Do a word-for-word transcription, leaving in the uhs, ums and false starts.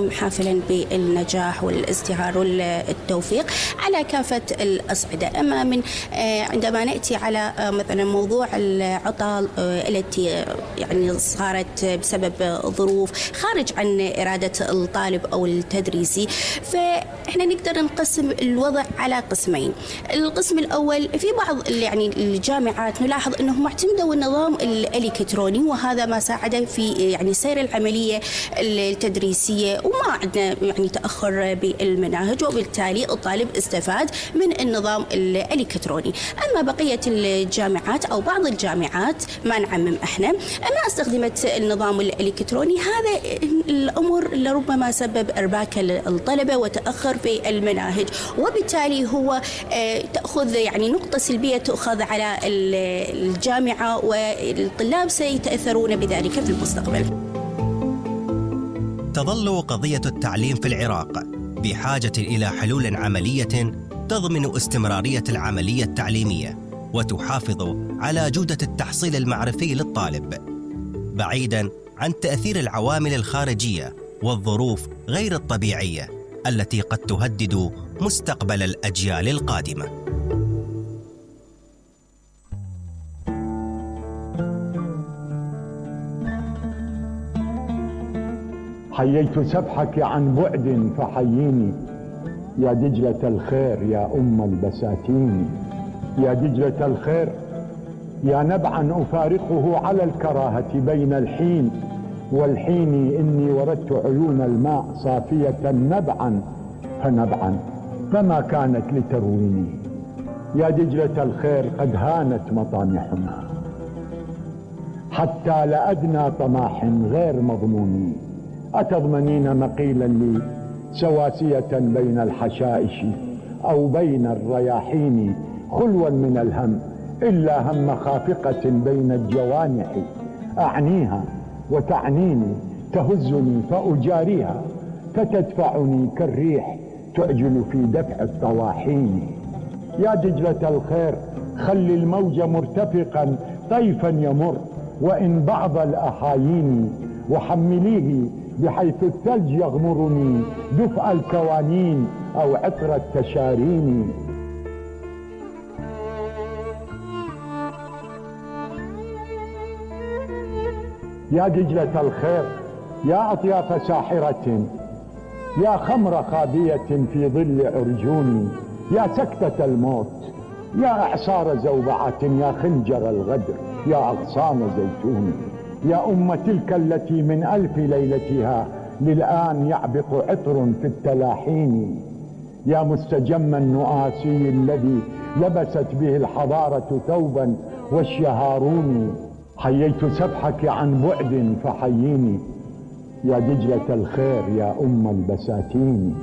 العام حافلا بالنجاح والازدهار والتوفيق على كافة الأصعدة. أما من عندما نأتي على مثلا موضوع العطل التي يعني صارت بسبب ظروف خارج عن إرادة الطالب أو التدريسي، فإحنا نقدر نقسم الوضع على قسمين. القسم الأول، في بعض يعني الجامعات نلاحظ أنهم اعتمدوا النظام الإلكتروني، وهذا ما ساعد في يعني سير العملية التدريسية، وما عندنا يعني تأخر بالمناهج، وبالتالي الطالب استفاد من النظام الإلكتروني. أما بقية الجامعات أو بعض الجامعات، ما نعمم احنا، ما استخدمت النظام الإلكتروني. هذا الأمر لربما سبب إرباك الطلبة وتأخر في المناهج، وبالتالي هو تأخذ يعني نقطة سلبية تؤخذ على الجامعة، والطلاب سيتأثرون بذلك في المستقبل. تظل قضية التعليم في العراق بحاجة إلى حلول عملية تضمن استمرارية العملية التعليمية وتحافظ على جودة التحصيل المعرفي للطالب، بعيداً عن تأثير العوامل الخارجية والظروف غير الطبيعية التي قد تهدد مستقبل الأجيال القادمة. حييت سفحك عن بعد فحييني، يا دجلة الخير يا أم البساتين، يا دجلة الخير يا نبعا أفارقه على الكراهة بين الحين والحين، إني وردت عيون الماء صافية نبعا فنبعا فما كانت لترويني، يا دجلة الخير قد هانت مطامحنا حتى لأدنى طماح غير مضمون، أتضمنين مقيلا لي سواسية بين الحشائش أو بين الرياحين، خلوا من الهم إلا هم خافقة بين الجوانح، أعنيها وتعنيني تهزني فأجاريها، فتدفعني كالريح تعجل في دفع الطواحين، يا دجلة الخير خل الموج مرتفقا طيفا يمر وإن بعض الأحايين، وحمليه بحيث الثلج يغمرني دفء الكوانين أو عطر التشارين. يا دجلة الخير يا أطياف ساحرة، يا خمر خابية في ظل عرجوني، يا سكتة الموت، يا إعصار زوبعة، يا خنجر الغدر، يا أغصان زيتون، يا أم تلك التي من ألف ليلتها للآن يعبق عطر في التلاحين، يا مستجم النؤاسي الذي لبست به الحضارة ثوبا والشهارون، حييت سفحك عن بعد فحييني، يا دجلة الخير يا أم البساتين.